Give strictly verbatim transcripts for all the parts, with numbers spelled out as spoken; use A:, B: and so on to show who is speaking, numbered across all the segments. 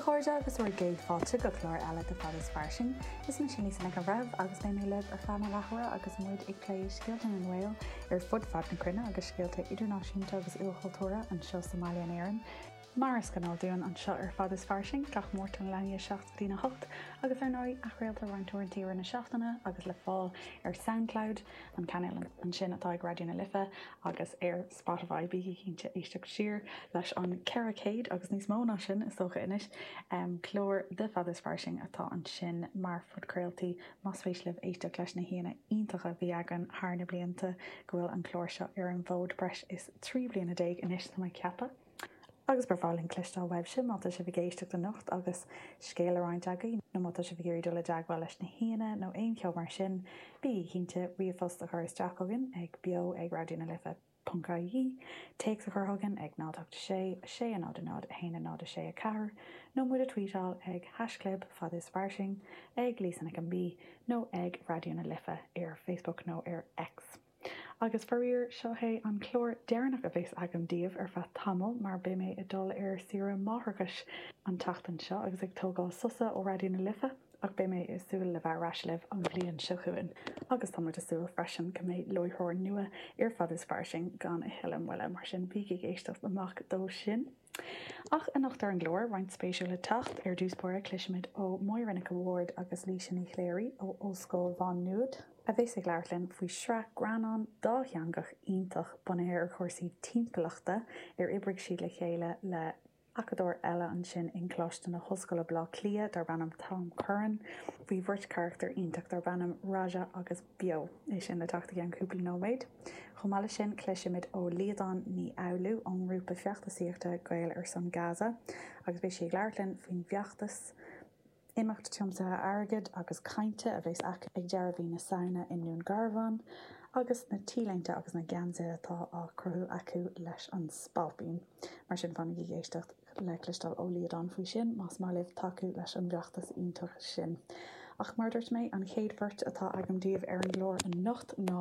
A: chairde agus bhur gcéad fáilte go clár eile de Fad is Fairsing. Is mise Lisa Nic an Bhreithimh agus beidh mé libh ar feadh na leathuaire agus muid ag plé scéalta na nGael ar fud fad na cruinne agus scéalta idirnáisiúnta agus ilchultúrtha anseo sa mbaile in Éirinn. Mar is gnáth dúinn anseo ar Fad is Fairsing gach Máirt ón leathuair seacht go dtí a hocht agus ar ndóigh athchraolta roinnt uaireanta na seachtaine agus le fáil ar SoundCloud an cainéal ansin atá ag Raidió na Life agus ar Spotify bígí cinnte éisteacht siar leis an ceithre chéad agus níos mó ná sin is dócha anois um, clár de Fad is Fairsing atá ansin mar phodchraoltaí más spéis libh éisteacht leis na haíonna iontacha a bhí againn thar na blianta go bhfuil an clár seo ar an bhfód breis is trí bliana déag anois tá mé ag ceapadh. Agus ba bhreá linn cloisteáil uaibhse má tá sibh ag éisteacht anocht agus scéal le roinnt agaibh nó má tá sibh ag iarraidh dul i dteagmháil leis na haíonna nó aon cheo mar sin, bí cinnte ríomhphost a chur isteach chugainn ag beo ag Raidió na Life ponc ie, téacs a chur chugainn ag náid ocht sé sé náid náid a haon náid sé a ceathair, nó muid a tweetáil ag haischlib fad is fairsing ag Lisa Nic an B nó ag Raidió na Life ar Facebook nó ar X. Agus faraor seo é an clár deireanach a bheas agam daoibh ar feadh tamaill mar beidh mé ag dul ar saoire máithreachais an tseachtain seo agus ag tógáil sosa ó Raidió na Life ach beidh mé ag súil le bheith ar ais libh an bhliain seo chugainn. Agus tá muid ag súil freisin go mbeidh láithreoir nua ar Fad is Fairsing gan a thuilleadh moille mar sin bígí ag éisteacht amach dó sin. Ach anocht ar an gclár roinnt spéisiúil le teacht ar dtús báire cloisfimid ó Mháire Nic an Bhaird agus Laoise Ní Chléirigh ó Ollscoil Mhá Nuad a bheas ag labhairt linn faoi shraith greannán dátheangach iontach bunaithe ar chúrsaí timpeallachta ar oibrigh siad le chéile le acadóir eile ansin in Coláiste na hOllscoile Baile Átha Cliath darb ainm Tom Curran, faoi bheirt charachtar iontach darb ainm Raja agus Beo é sin le teacht i gceann cúpla nóiméad. Chomh maith leis sin cloisfimid ó Líadán Ní Fhoghlú ón ngrúpa feachtasaíochta Gael ar son Gaza agus beidh sí ag labhairt linn faoin bhfeachtas imeacht tiomsaithe airgid agus cainte a bheas acu ag deireadh mhí na Samhna i nDún Garbhán agus na T-léinte agus na geansaithe atá á cruthú acu leis an Spailpín. Mar sin fanaigí ag éisteacht le cloisteáil ó Líadán faoi sin más maith libh tacú leis an bhfeachtas iontach sin. Ach mar dúirt mé an chéad bheirt atá agam daoibh ar an gclár anocht ná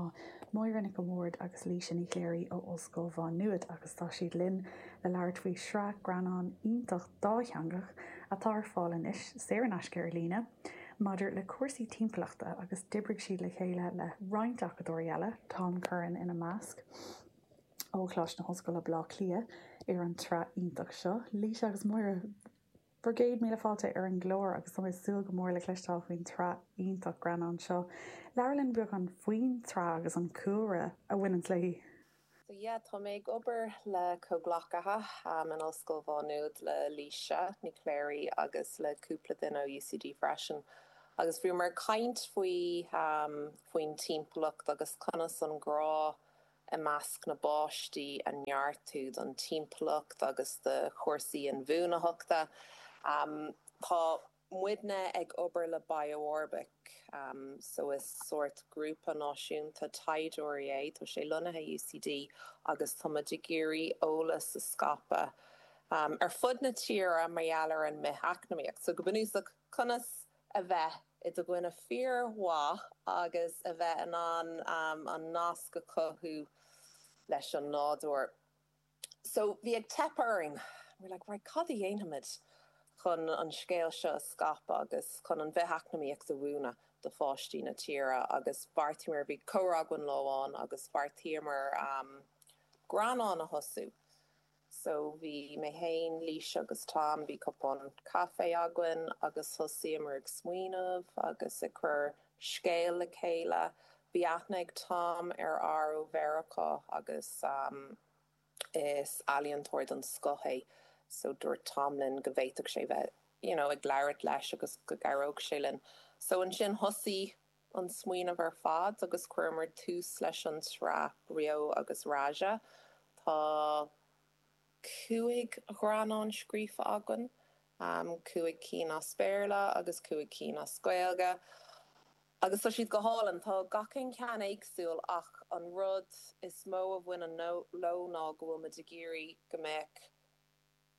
A: Máire Nic an Bhaird agus Laoise Ní Chléirigh ó Ollscoil Mhá Nuad agus tá siad linn le labhairt faoi shraith greannán iontach dátheangach atá ar fáil anois saor in aisce ar líne, maidir le cúrsaí timpeallachta agus d'oibrigh siad le chéile le roinnt acadóirí eile, Tom Curran ina measc ó Choláiste na hOllscoile Baile Átha Cliath ar an tsraith iontach seo. Laoise agus Máire bhur gcéad míle fáilte ar an gclár agus tá mé ag súil go mór le cloisteáil faoin tsraith iontach greannán seo. Labhair linn beagán faoin tsraith agus an cúlra a bhaineann léi.
B: So yeah, tá mé ag obair le comhghleacaithe um, in Ollscoil Mhá Nuad le Laoise Ní Chléirigh agus le cúpla duine ó UCD freisin. Agus bhíomar ag caint faoi um, faoin timpeallacht agus conas an grá i measc na bpáistí a neartú don timpeallacht agus do chúrsaí inbhuanaitheachta. Um, tá muidne ag obair le BioOrbic, um, so is sórt grúpa náisiúnta taighdeoirí é, tá sé lonnaithe UCD agus táimid ag iarraidh eolas a scaipeadh um, ar fud na tíre mar gheall ar an mbith-eacnamaíocht. So go bunúsach conas a bheith i do dhuine fíormhaith agus a bheith in ann um, an nasc a chothú leis an nádúr. So bhí ag teip orainn, we're like, right, cad a dhéanfaimid chun an scéal seo a scaipeadh agus chun an bhith-eacnamaíocht a mhúineadh do pháistí na tíre agus bheartaíomar bhí comhrá againn lá amháin agus bheartaíomar um, greannán a thosú. So bhí mé féin Laoise agus Tom bhí cupán caife againn agus thosaíomar ag smaoineamh agus ag cur scéal le chéile. Bhí aithne ag Tom ar fhear ó Mheiriceá agus um, is ealaíontóir den scoth é. So dúirt Tom linn go bhféadfadh sé bheith you know, ag labhairt leis agus go gcabhródh sé linn. So ansin thosaigh an smaoineamh ar fad agus chuireamar tús leis an tsraith Beo agus Raja. Tá cúig ghreannán scríofa againn, um, cúig cinn as Béarla agus cúig cinn as Gaeilge. Agus tá siad go hálainn tá gach aon cheann éagsúil ach an rud is mó a bhaineann leo ná go bhfuil muid ag iarraidh go mbeadh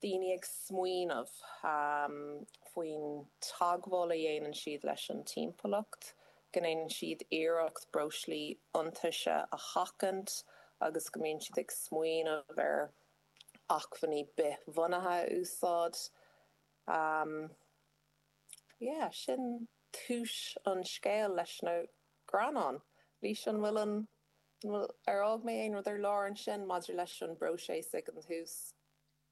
B: daoine ag smaoineamh um, faoin teagmháil a dhéanann siad leis an timpeallacht, go ndéanann siad iarracht breoslaí iontaise a sheachaint agus go mbíonn siad ag smaoineamh ar acmhainní bithbhunaithe a úsáid. Um, yeah, sin tús an scéil leis na greannáin. Lisa an bhfuil an bhfuil ar fhág mé aon rud ar lár ansin maidir leis an bpróiseas ag an tús.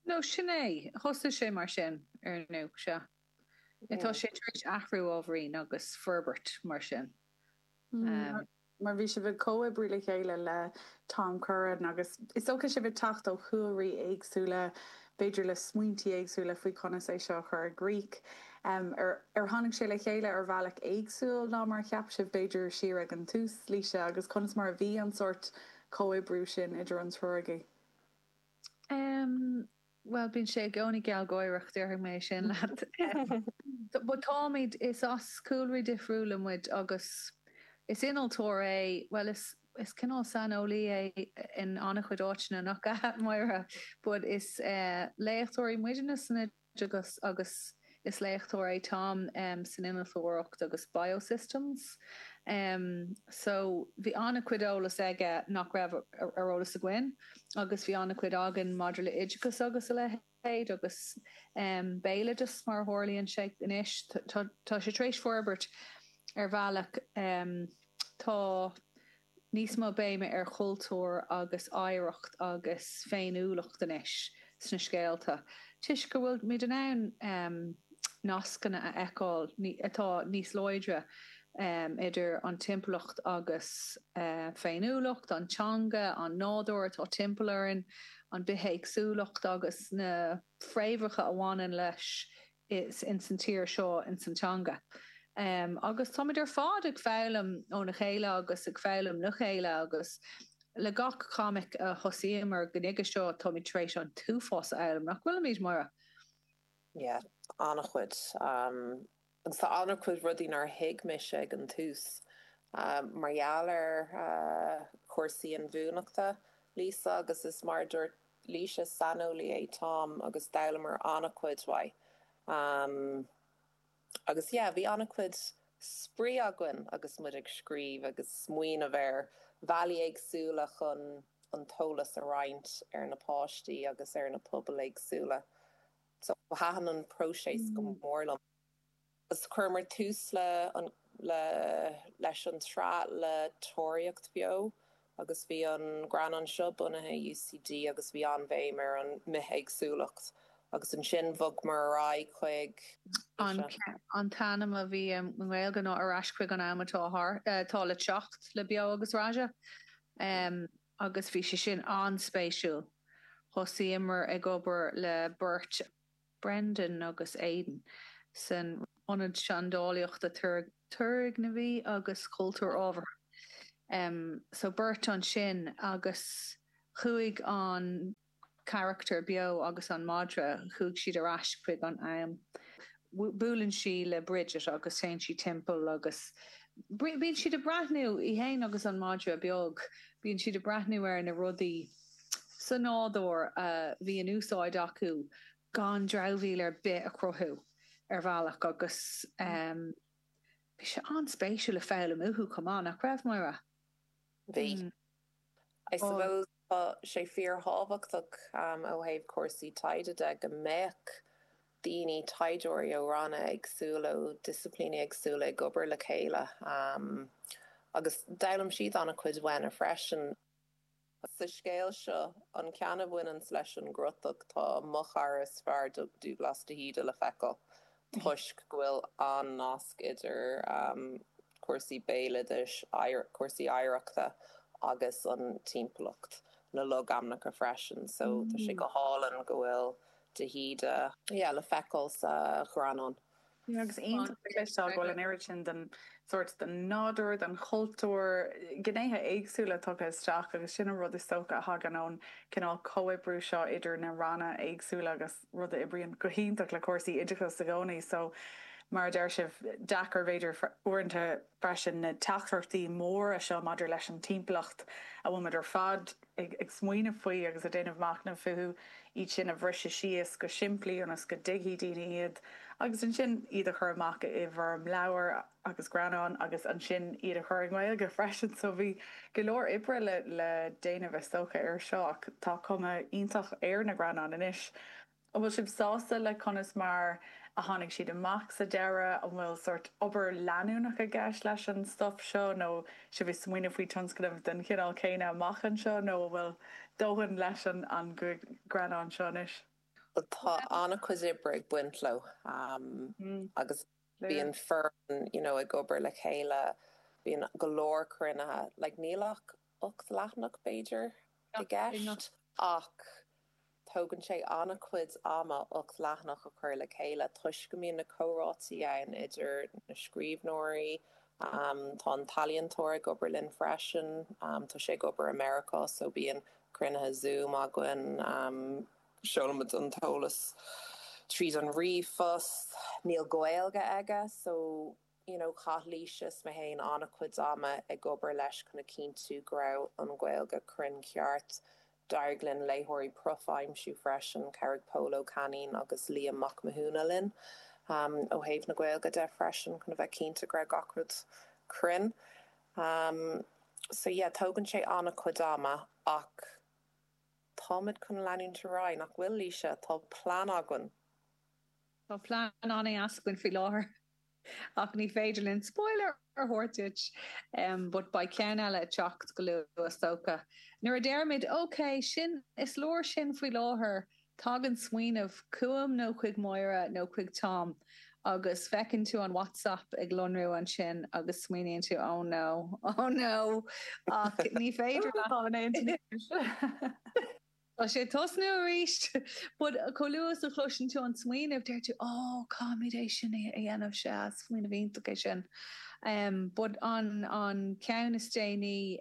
C: No sin é thosaigh sé mar sin ar nó se. Tá sé tar éis athrú ábhairín agus forbairt mar sin.
A: Um, mar bhí sibh ag comhoibriú le chéile le Tom Curran agus is dócha sibh ag teacht ó chúlraí éagsúla, b'fhéidir le smaointí éagsúla faoi conas é seo a chur i gcrích. Um, ar, ar tháinig sé le chéile ar bhealach éagsúil ná mar cheap sibh b'fhéidir siar ag an tús Lisa agus conas mar a bhí an sórt comhoibriú sin idir an triúr agaibh?
C: Um, well bíonn sé i gcónaí gealgháireach déarfaidh mé sin leat. But táimid is as cúlraí difriúla muid agus is innealtóir é well is is cineál saineolaí é in an-chuid áiteanna nach ea Máire, but is uh, léachtóirí muidne san oideachas agus is léachtóir é Tom um, san innealtóireacht agus biosystems. Um, so bhí an-chuid eolas aige nach raibh ar eolas againn agus bhí an-chuid againn maidir le oideachas agus a leithéid agus um, béaloideas mar a tharlaíonn sé anois tá sé tar éis forbairt ar bhealach um, tá níos mó béime ar chultúr agus oidhreacht agus féiniúlacht anois sna scéalta. Toisc go bhfuil muid in ann um, nascanna a fheiceáil atá níos láidre um, idir an timpeallacht agus uh, féiniúlacht, an teanga, an nádúr atá timpeall orainn, an bithéagsúlacht agus na fréamhacha a bhaineann leis is in san tír seo in san teanga. Um, agus táimid ar fad ag foghlaim óna chéile agus ag foghlaim le chéile agus le gach comic a thosaíomar go dtí seo táimid tar éis an t-uafás a fhoghlaim nach bhfuilimid Máire.
B: Yeah, an-chuid. Um, agus tá an-chuid rudaí nár thuig mise ag an tús. Um, mar gheall ar uh, cúrsaí inbhuanaitheachta Lisa agus is mar dúirt Lisa saineolaí é Tom agus d'fhoghlaimíomar an-chuid uaidh. Um, agus yeah, bhí an-chuid spraoi againn agus muid ag scríobh agus smaoineamh ar bhealaí éagsúla chun an t-eolas a roinnt ar na páistí agus ar na pobail éagsúla. So thaitin an próiseas go mm. mór liom. Is chuireamar tús le an, le, leis an tsraith le Tóraíocht Beo agus bhí an greannán seo bunaithe UCD agus bhí an-bhéim ar an mbithéagsúlacht. Agus ansin bhog mar ar aghaidh chuig
C: An t-ainm a bhí i nGaeilge ná ar ais chuig an am atá atá le teacht le Beo agus Raja. Um, agus bhí sé sin an-spéisiúil. Thosaíomar ag obair le beirt Brendan agus Aidan san ionad seandálaíochta turgnamhaí agus cultúr ábhartha. Um, so beirt ansin agus chuaigh an charachtar beo agus an madra chuaigh siad ar ais chuig an am. Buaileann sí le Bridget agus téann sí timpeall agus bíonn siad ag breathnú í féin agus an madra beag, bíonn siad ag breathnú ar na rudaí sa nádúr a bhí in úsáid acu gan dramhaíl ar bith a chruthú ar bhealach agus um, bhí sé an-spéisiúil le foghlaim uathu chomh maith nach raibh Máire.
B: Bhí. Mm. I suppose tá sé fíorthábhachtach um, ó thaobh cúrsaí taighde de go mbeadh daoine taighdeoirí ó ranna éagsúla ó disciplíní éagsúla ag obair le chéile. Um, agus d'fhoghlaim siad an-chuid uainne freisin. Sa scéal seo an ceann a bhaineann leis an gcrotach tá mo chara is fearr Dubhghlas de hÍde le feiceáil toisc go bhfuil an nasc idir um, cúrsaí béaloidis, cúrsaí oidhreachta agus an timpeallacht na logainmneacha freisin, so tá sé go hálainn go bhfuil de hÍde yeah, le feiceáil sa ghreannán.
A: Agus iontach go bhfuil an oiread sin den sórt den nádúr, den chultúr, gnéithe éagsúla tugtha isteach agus sin an rud is dócha a thagann ón cineál comhoibriú seo idir na ranna éagsúla agus rud a oibríonn go hiontach le cúrsaí oideachais i gcónaí, so mar a deir sibh deacair b'fhéidir uaireanta freisin na teachtaireachtaí móra seo maidir leis an timpeallacht a bhfuil ar fad ag, ag smaoineamh faoi agus ag déanamh machnamh fúthu iad sin a bhriseadh síos go simplí ionas go dtuigfidh daoine iad agus ansin iad a chur amach i bhfoirm leabhar agus greannán agus ansin iad a chur i nGaeilge freisin so bhí go leor oibre le le déanamh is dócha ar seo ach tá cuma iontach ar na greannáin anois. An bhfuil sibh sásta le conas mar a tháinig siad amach sa deireadh? An bhfuil sórt obair leanúnach i gceist leis an stuif seo nó sibh ag smaoineamh faoi tionscnamh den chineál céanna amach anseo nó an bhfuil dóthain leis an an gcúig greannán seo anois?
B: Tá an-chuid oibre ag baint leo agus bíonn foireann you know ag obair le chéile, bíonn go leor cruinnithe, like níl ach ocht leathanach b'fhéidir i gceist ach tógann sé an-chuid ama ocht leathanach a chur le chéile toisc go mbíonn na comhráití ann idir na scríbhneoirí, tá an t-ealaíontóir ag obair linn freisin, tá sé ag obair i Meiriceá so bíonn cruinnithe Zoom againn, seolaimid an t-eolas tríd an ríomhphost, níl Gaeilge aige so you know chaith Laoise is mé féin an-chuid ama ag obair leis chun a chinntiú go raibh an Ghaeilge cruinn ceart. D'éirigh linn léitheoirí proif a aimsiú freisin, chabhraigh Pól Ó Cainín agus Liam Mac Mathúna linn ó thaobh na Gaeilge de freisin chun a bheith cinnte go raibh gach rud cruinn. So yeah, tógann sé an-chuid ama ach táimid chun leanúint ar aghaidh, nach bhfuil, Laoise? Tá plean againn.
C: Tá plean an-deas againn faoi láthair. Ach ní féidir linn spoiler a thabhairt duit, but beidh ceann eile ag teacht go luath is dócha. Nuair a deirimid ok, sin, is leor sin faoi láthair, tagann smaoineamh chugam nó chuig Máire nó chuig Tom agus feiceann tú an WhatsApp ag lonrú ansin agus smaoiníonn tú oh no, oh no ach ní féidir leat. Tá sé ag tosnú arís! But chomh luath is a chloiseann tú an smaoineamh, deir tú, oh, caithfimid é sin a dhéanamh, sea, smaoineamh iontach é sin. But an an ceann is déanaí,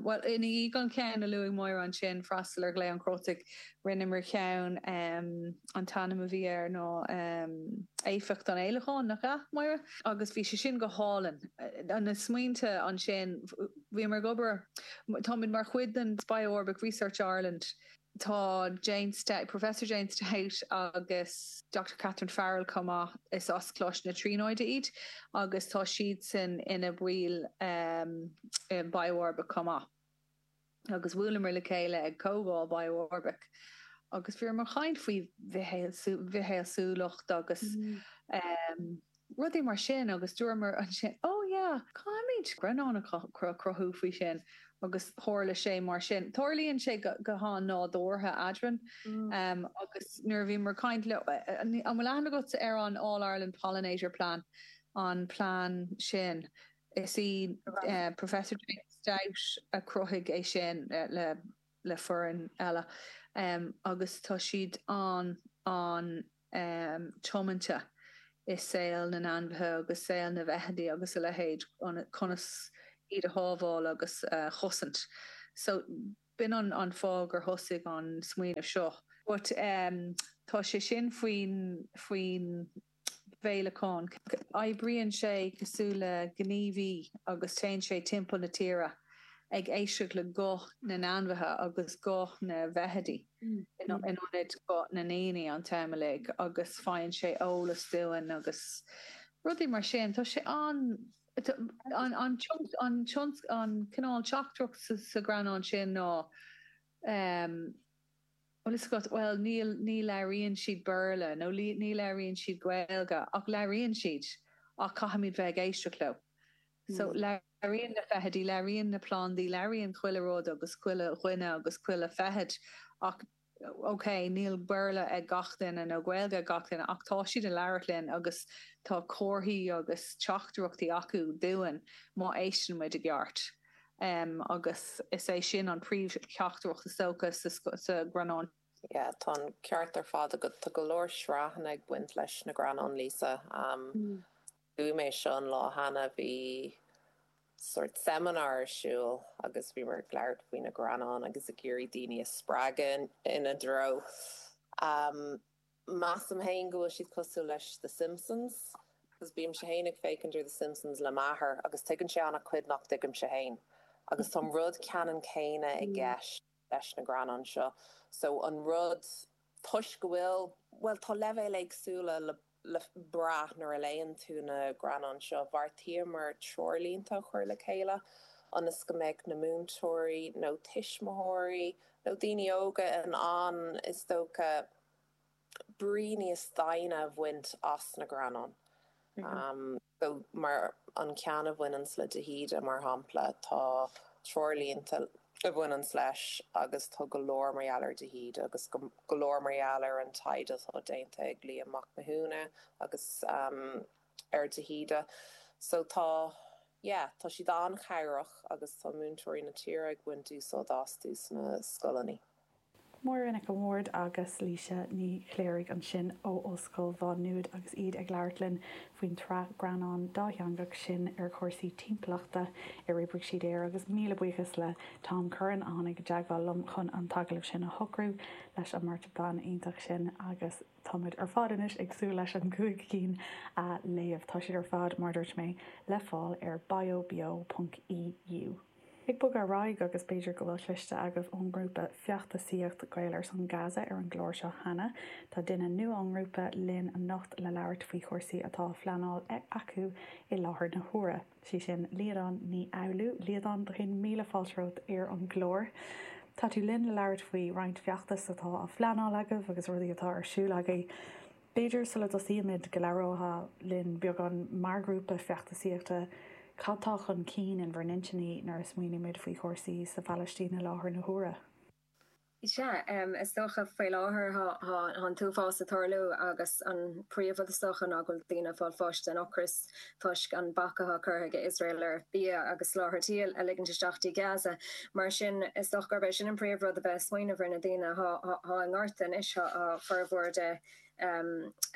C: bhuel, ina dhiaidh an ceann a luaigh Máire ansin, Freastal ar Ghlao an Chrotaigh, rinneamar ceann, an t-ainm a bhí air ná Éifeacht an Fhéileacáin, nach ea, Máire? Agus bhí sé sin go hálainn. Na smaointe ansin, bhíomar ag obair, táimid mar chuid den BiOrbic Research Ireland, tá Jane Stout, Professor Jane Stout agus Doctor Catherine Farrell chomh maith, is as Coláiste na Tríonóide iad agus tá siadsan ina baill i BiOrbic chomh maith. Agus bhuaileamar le chéile ag comhdháil BiOrbic agus bhíomar ag caint faoi bhithéagsúlacht agus rudaí mar sin agus dúramar ansin oh yeah, caithfimid greannán a chruthú faoi sin agus tharla sé mar sin. Tarlaíonn sé go han-nádúrtha eadrainn agus nuair a bhíomar ag caint le, an bhfuil aithne agat ar an All Ireland Pollinator Plan, an plean sin? Is í Professor Jane Stout a chruthaigh é sin le le foireann eile agus tá siad an an tiomanta i saol na n-ainmhithe agus saol na bhfeithidí agus a leithéid, conas iad a shábháil agus a chosaint. So b'in an an fáth gur thosaigh an smaoineamh seo. But tá sé sin faoin faoin bhféileacán. Oibríonn sé cosúil le gníomhaí agus téann sé timpeall na tíre ag éisteacht le guth na n-ainmhithe agus guth na bhfeithidí in ionad guth na ndaoine an t-am uilig agus faigheann sé eolas dúinn agus rudaí mar sin. Tá sé an an an an cineál teachtaireacht sa ghreannán sin ná Bhfuil fhios agat, bhuel, níl, ní labhraíonn siad Béarla nó ní labhraíonn siad Gaeilge ach labhraíonn siad ach caithfimid bheith ag éisteacht leo. So labhraíonn na feithidí, labhraíonn na plandaí, labhraíonn chuile rud agus chuile dhuine agus chuile feithid ach ok, níl Béarla ag gach duine nó Gaeilge ag gach duine ach tá siad ag labhairt linn agus tá comharthaí agus teachtaireachtaí acu dúinn má éisteann muid i gceart. Agus is é sin an príomhtheachtaireacht is dócha sa ghreannán.
B: Yeah, tá an ceart ar fad agat. Tá go leor sraitheanna ag baint leis na greannáin, Lisa. Luaigh mé seo an lá cheana, bhí sórt seimineár ar siúl agus bhíomar ag labhairt faoi na greannáin agus ag iarraidh daoine a spreagadh ina dtreo. Measaim féin go bhfuil siad cosúil leis The Simpsons, cos bímse féin ag féachaint ar The Simpsons le m'athair agus tuigeann sé an-chuid nach dtuigimse féin. Agus tá an rud ceannann céanna i gceist leis na greannáin seo. So an rud, toisc go bhfuil, bhuel tá leibhéil éagsúla le le brath nuair a léann tú na greannáin seo, bheartaíomar treoirlínte a chur le chéile ionas go mbeadh na múinteoirí nó tuismitheoirí nó daoine óga in ann, is dócha, brí níos doimhne a bhaint as na greannáin. Um, so mar an ceann a bhaineanns le de hÍde mar shampla tá treoirlínte a bhaineanns leis agus tá go leor mar gheall ar de hÍde agus go go leor mar gheall ar an taighde atá déanta ag Liam Mac Mathúna agus um, ar de hÍde. So tá yeah, tá siad an-chabhrach agus tá múinteoirí na tíre ag baint úsáid astu sna scoileanna.
A: Máire Nic an Bhaird agus Laoise Ní Chléirigh ansin ó Ollscoil Mhá Nuad agus iad ag labhairt linn faoin tsraith greannán dátheangach sin ar chúrsaí timpeallachta ar oibrigh siad air agus míle buíochas le Tom Curran a tháinig i dteagmháil liom chun an t-agallamh sin a shocrú leis an mbeirt bhan iontach sin agus táimid ar fad anois ag súil leis an gcúig cinn a léamh. Tá siad ar fad mar dúirt mé le fáil ar biobeo.eu. Ag bogadh ar aghaidh agus b'fhéidir go bhfuil cloiste agaibh ón ngrúpa feachtasaíocht Gael ar son Gaza ar an gclár seo cheana. Tá duine nua ón ngrúpa linn anocht le labhairt faoi chúrsaí atá á phleanáil acu i láthair na huaire. Sí sin Liadán Ní Fhoghlú, Liadán do chéad míle fáilte romhat ar an gclár. Tá tú linn le labhairt faoi roinnt feachtas atá á phleanáil agaibh agus rudaí atá ar siúl agaibh. B'fhéidir sula dtosaímid go labhrófá linn beagán mar ghrúpa feachtasaíochta cad tá chun cinn in bhur n-intinní nuair a smaoinímid faoi chúrsaí sa Phalaistín i láthair na huaire.
D: Sea, is dócha faoi láthair tá an t-uafás ag tarlú agus an príomhrud is dócha ná go bhfuil daoine ag fáil bháis den ocras toisc an bac atá curtha ag Iosrael ar bia agus soláthairtí a ligint isteach dtí Gaza. Mar sin is dócha gurb é sin an príomhrud a bheith ag smaoineamh ar na daoine atá i ngorta anois, tá formhór de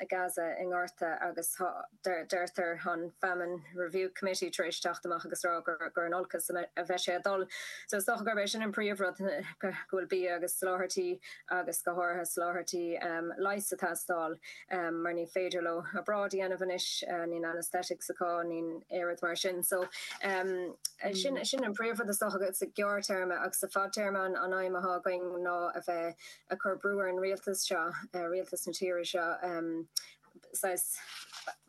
D: Gaza i ngorta agus deirtear an Famine Review Committee tar éis teacht amach agus rá gur in olcas a bheidh sé ag dul. So is dócha gurb é sin an príomhrud go bhfuil bia agus soláthairtí agus go háirithe soláthairtí leighis ag teastáil mar ní féidir leo obráid a dhéanamh anois, níl anaesthetics acu, níl aon rud mar sin. So sin sin an príomhrud is dócha sa ghearrthéarma agus sa fadtéarma an aidhm atá againn ná a bheith ag cur brú ar an rialtas seo, rialtas na tíre seo saghas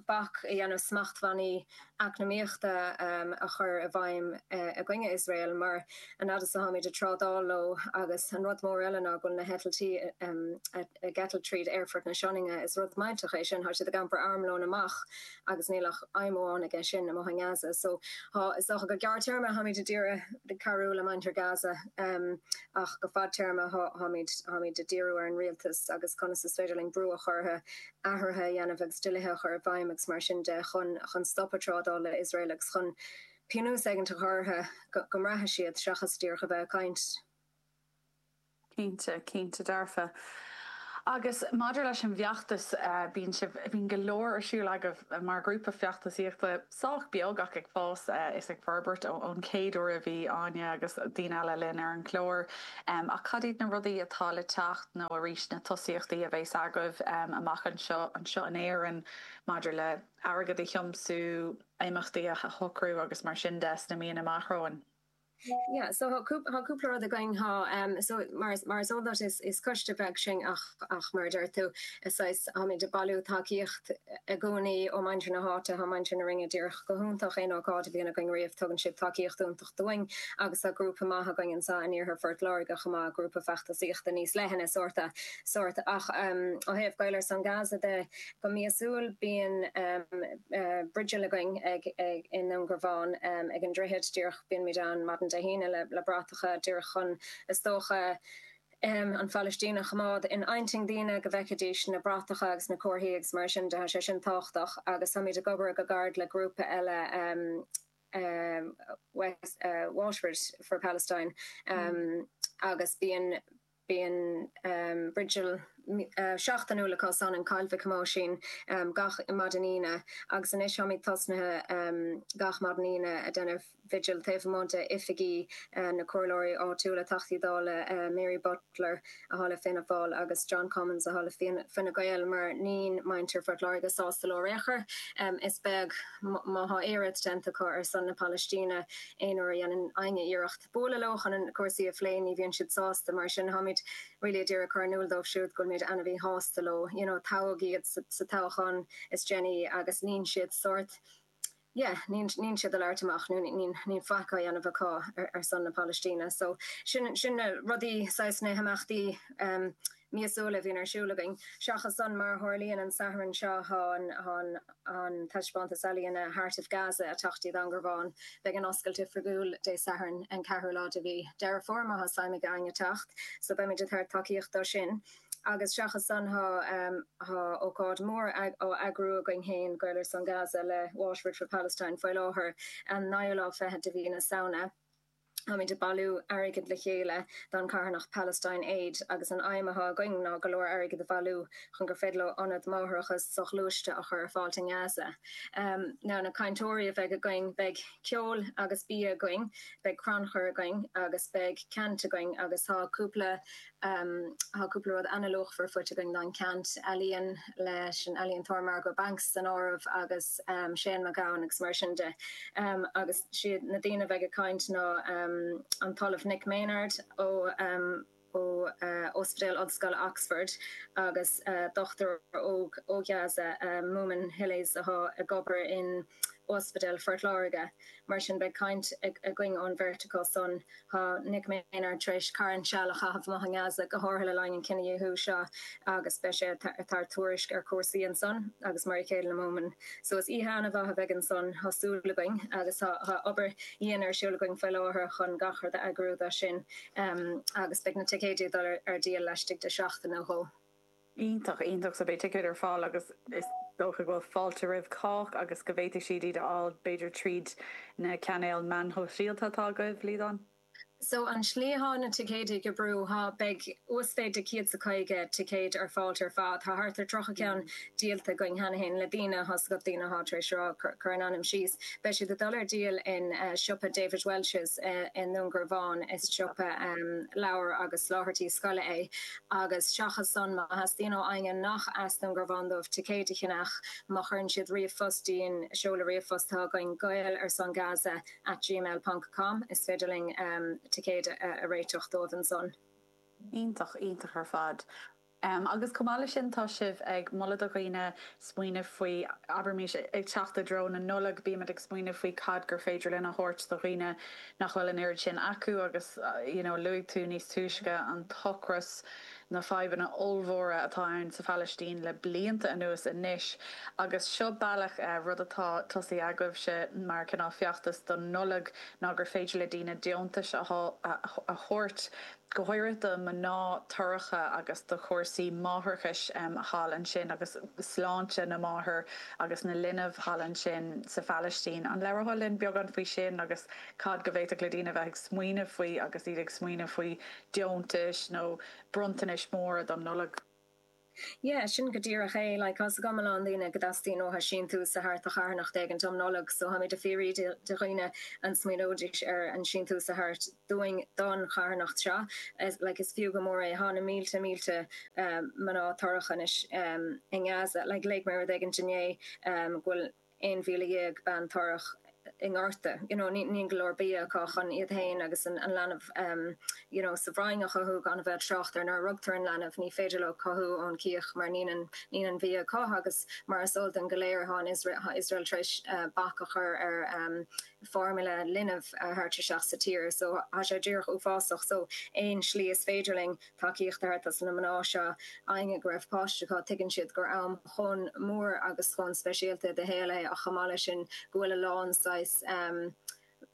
D: bac a dhéanamh smachtbhannaí eacnamaíochta a chur i bhfeidhm i gcoinne Iosrael mar an fhad is atáimid ag trádáil leo agus an rud mór eile ná go bhfuil na heitiltí ag eitilt tríd Aerfort na Sionainne, is rud millteach é sin, tá siad ag iompar armlón amach agus níl ach aidhm amháin aige sin amuigh i nGaza. So is dócha go gearrtéarma táimid ag iarraidh cabhrú le muintir Gaza ach go fadtéarma táimid táimid ag díriú ar an rialtas agus conas is féidir linn brú a chur orthu athruithe a dhéanamh agus dlíthe a chur i bhfeidhm agus mar sin de chun chun stop an trádáil le Iosrael agus chun pionós éigin a chur orthu go mbraithfidh siad seachas díreach a bheith ag caint.
A: Cinnte, cinnte dearfa. Agus maidir leis an bhfeachtas, bíonn sibh, bíonn go leor ar siúl agaibh mar ghrúpa feachtasaíochta, sách beag ach ag fás is ag forbairt ón chéad uair a bhí Áine agus daoine eile linn ar an gclár. Ach cad iad na rudaí atá le teacht nó arís na tosaíochtaí a bheas agaibh amach anseo, anseo in Éirinn maidir le airgead a thiomsú, imeachtaí a shocrú agus mar sin de sna míonna amach romhainn?
D: Yeah, so tá cúpla rud againn tá so mar mar is eol duit is is coiste beag sinn ach ach mar a deir tú is saghas táimid ag bailiú tacaíocht i gcónaí ó muintir na háite, tá muintir na Rinne díreach go hiontach aon ócáid a bhíonn againn riamh tugann siad tacaíocht iontach dúinn agus tá grúpa maith againn anseo in iarthar Phort Láirge chomh maith, grúpa feachtasaíochta níos leithne sórt sórt ach ó thaobh Gael ar son Gaza de go míosúil bíonn bridil againn ag ag i nDún Garbhán ag an droichead díreach bíonn muid ann maidin Dé hAoine le le bratacha díreach chun is dócha an Phalaistín a choimeád in intinn daoine go bhfeicfidís na bratacha agus na comharthaí agus mar sin de tá sé sin tábhachtach agus táimid ag obair go gairid le grúpa eile West Waterford for Palestine agus bíonn Bíonn bridil seachtainiúil acu san in Coill Mhic Thomáisín gach maidin Aoine agus anois táimid tosnaithe gach maidin Aoine ag déanamh vigil taobh amuigh de oifigí na comhairleoirí áitiúla, Teachtaí Dála Mary Butler atá le Fianna Fáil agus John Cummins atá le Fine Gael mar níl muintir Phort Láirge sásta leo ar aon chor. Is beag má tá aon rud déanta acu ar son na Palaistíne aon uair a dhéanann éinne iarracht bualadh leo chun na cúrsaí a phlé, ní bhíonn siad sásta, mar sin táimid really ag iarraidh cur in iúl dóibh siúd go bhfuilimid ana-mhíshásta leo, you know toghadh iad sa toghchán is déanaí agus níl siad sórt, yeah, níl níl siad ag labhairt amach nó níl níl faic á dhéanamh acu ar ar son na Palaistíne. So sin sin na rudaí, saghas na himeachtaí um míosúla a bhíonn ar siúl againn. Seachas san mar a tharlaíonn an Satharn seo thá an an an taispeántas ealaíona Heart of Gaza ag teacht dtí Dún Garbhán. Beidh an oscailt oifigiúil Dé Sathairn an ceathrú lá de mhí Deireadh Fómhair má thá suim ag éinne teacht so beimid ag tabhairt tacaíocht dó sin. Agus seachas san thá thá ócáid mór á eagrú againn féin, Gael ar son Gaza le Waterford for Palestine faoi láthair an naoú lá fichead de mhí na Samhna. Táimid ag bailiú airgid le chéile don charthanacht Palestine Aid agus an aidhm atá againn ná go leor airgid a bhailiú chun gur féidir leo ionad máithreachais soghluaiste a chur ar fáil i nGaza. Now na cainteoirí a bheidh againn, beidh ceol agus bia againn, beidh crannchur againn agus beidh ceant againn agus tá cúpla Tá cúpla rud an-luachmhar faighte againn don cheant, ealaíon leis an ealaíontóir Margot Banks san áireamh agus Shane MacGowan agus mar sin de. Agus siad na daoine a bheidh ag caint ná an tOllamh Nick Maynard ó ó Ospidéal Ollscoile Oxford agus dochtúir óg ó Ghaza, Moomin Hilles atá ag obair in Ospidéal Phort Láirge. Mar sin beidh caint againn ón bheirt acu san. Tá Nick Maynard tar éis carn seal a chaitheamh amuigh i nGaza, go háirithe le linn an cinedhíothú seo agus beidh sé ag tabhairt tuairisc ar chúrsaí ansan agus mar a chéile le Moomin. So is oíche an-mhaith a bheidh ansan, tá súil againn agus tá obair dhian ar siúl againn faoi láthair chun gach rud a eagrú dó sin agus beidh na ticéidí ag dul ar díol laistigh de sheachtain nó dhó.
A: Iontach, iontach. So beidh ticéid ar fáil agus is dócha go bhfuil fáilte roimh chách agus go bhféadfaidh siad iad a fháil b'fhéidir tríd na cainéil meán shóisialta atá agaibh, Liadán?
D: So an slí athá na ticéidí ag oibriú, thá, beidh uasmhéid de céad 's a caoga ticéid ar fáilt ar fad. Tá thart ar tríocha ceann díolta againn cheana féin le daoine, thá's agat, daoine athá tar éis rá, cuir a n-ainm síos. Beidh siad ag dul ar díol in siopa David Walsh's i nDún Garbhán, is siopa leabhar agus soláthairtí scoile é. Agus seachas san, má theastaíonn ó éinne nach as Dún Garbhán dóibh ticéid a cheannach, má chuireann siad ríomhphost dtí'n seoladh ríomhphost atá againn, Gael ar son Gaza at gmail ponc com, is féidir linn ticéid a réiteach dóibh ansan.
A: Iontach, iontach ar fad. Agus chomh maith leis sin tá sibh ag moladh do dhaoine smaoineamh faoi, abraimis, ag teacht i dtreo na Nollag, bímid ag smaoineamh faoi cad gur féidir linn a thabhairt do dhaoine nach bhfuil an oiread sin acu agus you know luaigh tú níos túisce an t-ocras, na fadhbanna ollmhóra atá ann sa Phalaistín le blianta anuas anois agus seo bealach, rud atá tosaithe agaibhse mar cineál feachtas don Nollaig ná gur féidir le daoine deontais a thabhairt, go háirithe do mhná torracha agus do chúrsaí máithreachais thall ansin agus sláinte na máthar agus na linbh thall ansin sa Phalaistín. An labhrófá linn beagán faoi sin agus cad go bhféadfadh le daoine bheith ag smaoineamh faoi agus iad ag smaoineamh faoi deontais nó bronntanais móra don Nollaig.
D: Yeah, sin go díreach é. Like, tá's agam a lán daoine go dteastaíonn uathu síntiús a thabhairt do charthanacht éigint um Nollaig, so táimid ag fiafraí de dhaoine an smaoineoidís ar an síntiús a thabhairt dúinn don charthanacht seo. Like, is fiú go mór é. Tá na mílte mílte mná torracha anois i nGaza. Like, léigh mé rud éigint inné go bhfuil aon mhíle dhéag bean torrach i ngorta, you know, níl go leor bia acu chun iad féin agus an leanbh you know sa bhroinn a chothú, gan a bheith ag trácht ar nuair a rugtar an leanbh, ní féidir leo cothú ón cíoch mar níl an níl an bhia acu agus mar is eol dúinn go léir tá an Iosrael tá Iosrael tar éis bac a chur ar foirmle linbh a thabhairt isteach sa tír so tá sé díreach uafásach so aon slí is féidir linn tacaíocht a thabhairt dos na mná seo, éinne go raibh páiste acu, tuigeann siad gur am chomh mór agus chomh speisialta i do shaol é ach chomh maith leis sin go bhfuil a lán saghas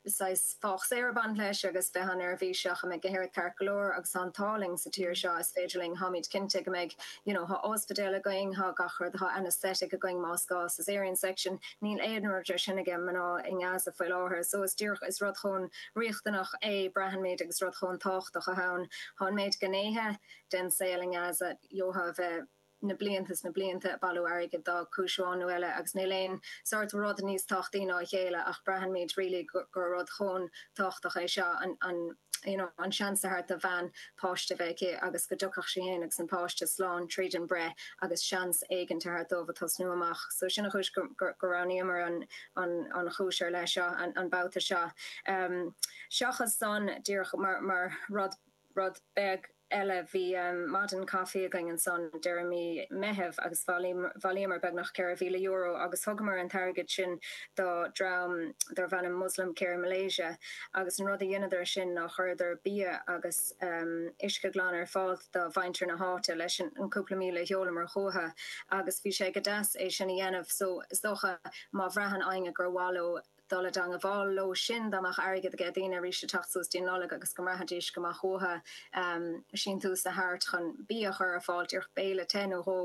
D: saghas fách saor ag baint leis agus bheith an-neirbhíseach an mbeidh gach rud ceart go leor agus tá an t-ádh linn sa tír seo is féidir linn táimid cinnte go mbeidh you know tá ospidéal againn tá gach rud tá anaesthetic againn más gá caesarean section níl aon rud de sin ag mná i nGaza faoi láthair so is díreach is rud chomh riachtanach é braitheann agus rud chomh tábhachtach atá ann. Tá an méid gnéithe den saol i nGaza, gheofá a bheith na blianta is na blianta ag bailiú airgid do chúis amháin nó eile agus níl aon sórt rud níos tábhachtaí ná a chéile ach braitheann really gur rud chomh tábhachtach é seo an an you know an seans a thabhairt do bhean páiste a bheith aici agus go dtiocfadh sí féin agus an páiste slán tríd an breith agus seans éigin a thabhairt dóibh a tosnú amach. So sin an chúis go go roghnaíomar an an an chúis ar leith seo an an babhta seo. Um, seachas san díreach mar mar rud rud beag eile bhí maidin caife againn ansan deireadh mí Meitheamh agus bhailíomar beagnach ceithre mhíle euro agus thugamar an t-airgead sin do dream darbh ainm Muslim Care Malaysia agus an rud a dheineadar sin ná chuireadar bia agus uisce glan ar fáil do mhuintir na háite leis an cúpla míle a sheolamar chucu agus bhí sé go deas é sin a dhéanamh so is dócha má bhraitheann éinne gur mhaith leo dul i dteangmháil leo sin dá mbeadh airgead aige daoine arís ag teacht suas dtí an Nollaig agus go mbraithfidís go mbeadh uathu síntiús a thabhairt chun bia a chur ar fáil, díreach béile te nó dhó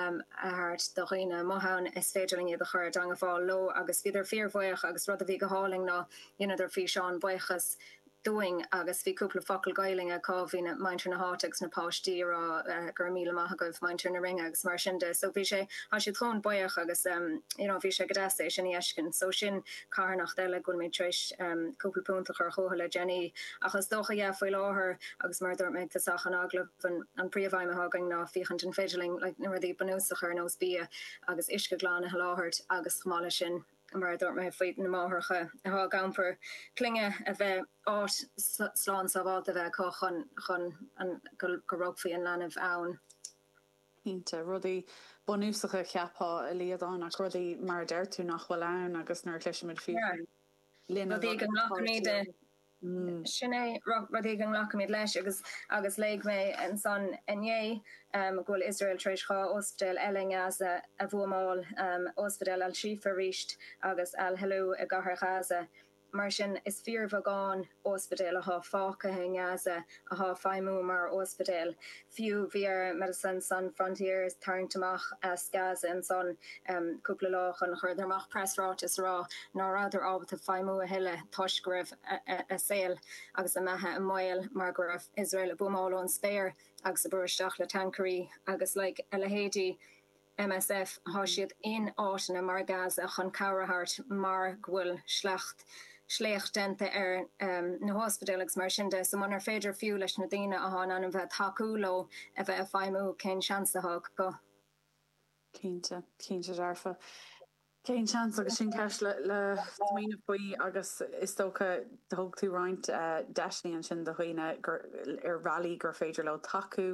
D: a thabhairt do dhaoine amuigh ann, is féidir linn iad a chur i dteangmháil leo agus bhíodar fíorbhuíoch agus rud a bhí go hálainn ná dheineadar físeán buíochas dúinn agus bhí cúpla focal Gaelainne acu, bhí na muintir na háite agus na páistí ag rá go raibh míle maith agaibh muintir na Rinne agus mar sin de. So bhí sé, tá siad chomh buíoch agus you know bhí sé go deas é sin a fheiscint. So sin carthanacht eile go bhfuil mé tar éis cúpla punt a chur chucu le déanaí. Ach is dócha yeah faoi láthair agus mar a dúirt mé ag tosach an agallaimh an an príomhaidhm atá againn ná féachaint an féidir linn like na rudaí bunúsacha ar nós bia agus uisce glan a sholáthar agus chomh maith leis sin mar a dúirt mé faoi na máithreacha atá ag iompar clainne a bheith áit slán sábháilte a bheith acu chun chun an go go rugfaí an leanbh ann.
A: Cinnte, rudaí bunúsacha cheapfá a Liadán ach rudaí mar a deir tú nach bhfuil ann agus nuair a chloisimid faoi linbh
D: Rudaí go nglacaimid Sin é rudaí go nglacaimid leis agus agus léigh mé ansan inné go bhfuil Iosrael tar éis dhá ospidéal eile i nGaza a bhuamáil, Ospidéal Al-Shifa arís agus Al-Hilu i gCathair Ghaza. Mar sin, is fíorbheagán ospidéal atá fágtha i nGaza atá ag feidhmiú mar ospidéal. Fiú bhí ar Médecins Sans Frontières tarraingt amach as Gaza ansan cúpla lá ó shin chuireadar amach preasráiteas a rá ná rabhadar ábalta feidhmiú a thuilleadh toisc go raibh a saol agus a mbeatha i mbaol mar go raibh Iosrael ag buamáil ón spéir agus ag brú isteach le tancairí agus like a leithéidí MSF tá siad in áiteanna mar Gaza chun cabhair a thabhairt mar go bhfuil sleacht sléacht déanta ar na hospidéil agus mar sin de. So munar féidir fiú leis na daoine atá in ainm bheith ag tacú leo a bheith ag feidhmiú, cén seans atá acu?
A: Cinnte, cinnte dearfa. Cén seans agus sin ceist le le smaoineamh faoi agus is dócha thug tú roinnt deiseanna ansin do dhaoine gur ar bhealaí gur féidir leo tacú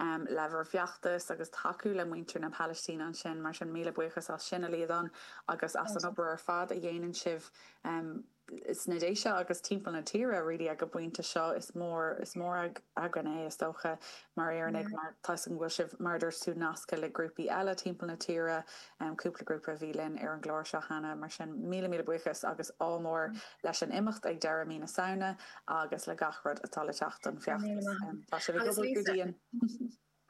A: le bhur bhfeachtas agus tacú le muintir na Palaistíne ansin mar sin míle buíochas as sin a Liadán agus as an obair ar fad a dhéanann sibh sna Déise agus timpeall na tíre really ag an bpointe seo is mór is mór againn é is dócha mar Éireannaigh mar tá a fhios agam go bhfuil sibh mar a dúirt tú nasctha le grúpaí eile timpeall na tíre cúpla grúpa a bhí linn ar an gclár seo cheana mar sin míle míle buíochas agus ádh mór leis an imeacht ag deireadh mí na Samhna agus le gach rud atá le teacht don feachtas. Tá sibh ag obair go dian.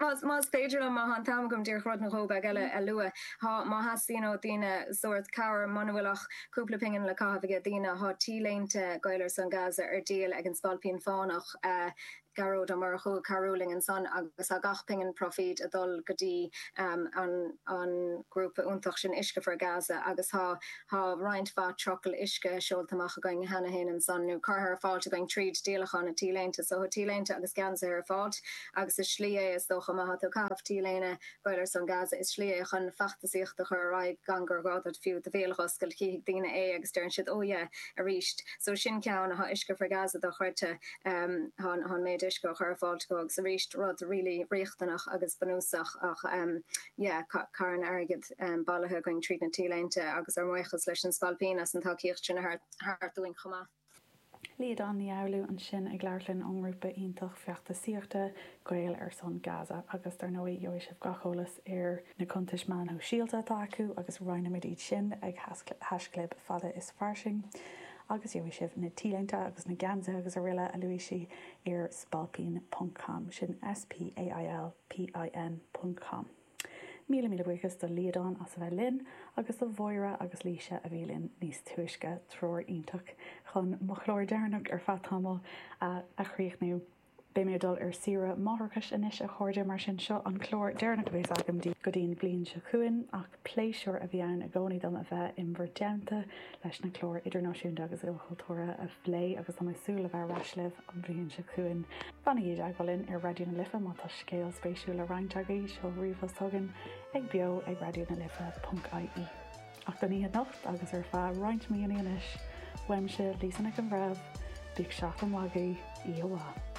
D: Más féidir liom, má tá an t-am agam díreach rud nó dhó beag eile a lua. Tá, má theastaíonn ó daoine sórt cabhair, muna bhfuil ach cúpla pingin le caitheamh aige daoine, tá T-léinte Gael ar son Gaza ar díol ag an Spailpín Fánach, Gearóid Ó Murchú ag cabhrú linn ansan agus tá gach pingin proifid ag dul go dtí an an grúpa iontach sin Uisce for Gaza agus tá tá roinnt mhaith trucail uisce seolta amach againn cheana féin ansan nó curtha ar fáilt againn tríd díolachán na T-léinte. So tá T-léinte agus geansaithe ar fáilt agus is slí é is dócha má tá tú ag caitheamh T-léine Gael ar son Gaza is slí é chun feachtasaíocht a chur ar aghaidh gan gur ghá duit fiú do bhéal a oscailt chífidh daoine é agus deireann siad oh yeah arís. So sin ceann atá Uisce for Gaza dochreidte tá an méid uisce á chur ar fáilt acu agus arís rud really riachtanach agus bunúsach ach yeah carn airgid bailithe againn tríd na T-léinte agus ár mbuíochas leis an Spailpín as an tacaíocht sin a thabhairt dúinn chomh maith.
A: Liadán Ní Fhoghlú ansin ag labhairt linn ón ngrúpa iontach feachtasaíochta Gael ar son Gaza agus dar ndóigh gheobhaidh sibh gach eolas ar na cuntais meán shóisialta atá acu agus roinnfimid iad sin ag haischlib fada is fairsing agus gheobhaidh sibh na T-léinte agus na geansaithe agus araile a luaigh sí ar spailpín ponc com sin S P A I L P I N ponc com. Míle míle buíochas do Liadán as a bheith linn agus do Mháire agus Laoise a bhí linn níos túisce, triúr iontach chun mo chlár deireanach ar feadh tamaill a chríochnú. Beidh mé ag dul ar saoire máithreachais anois a chairde, mar sin seo an clár deireanach a bheas agam daoibh go dtí an bhliain seo chugainn ach pléisiúr a bhí ann i gcónaí dom a bheith in bhur dteannta leis na cláir idirnáisiúnta agus ilchultúrtha a phlé agus tá mé ag súil le bheith ar ais libh an bhliain seo chugainn. Fanaigí i dteagmháil linn ar Raidió na Life má tá scéal spéisiúil le roinnt agaibh, seol ríomhphost chugainn ag beo ag raidió na life ponc ie. Ach don oíche anocht agus ar feadh roinnt míonna anois, uaimse, Lisa Nic an Bhreithimh, bíodh seachtain mhaith agaibh, oíche mhaith.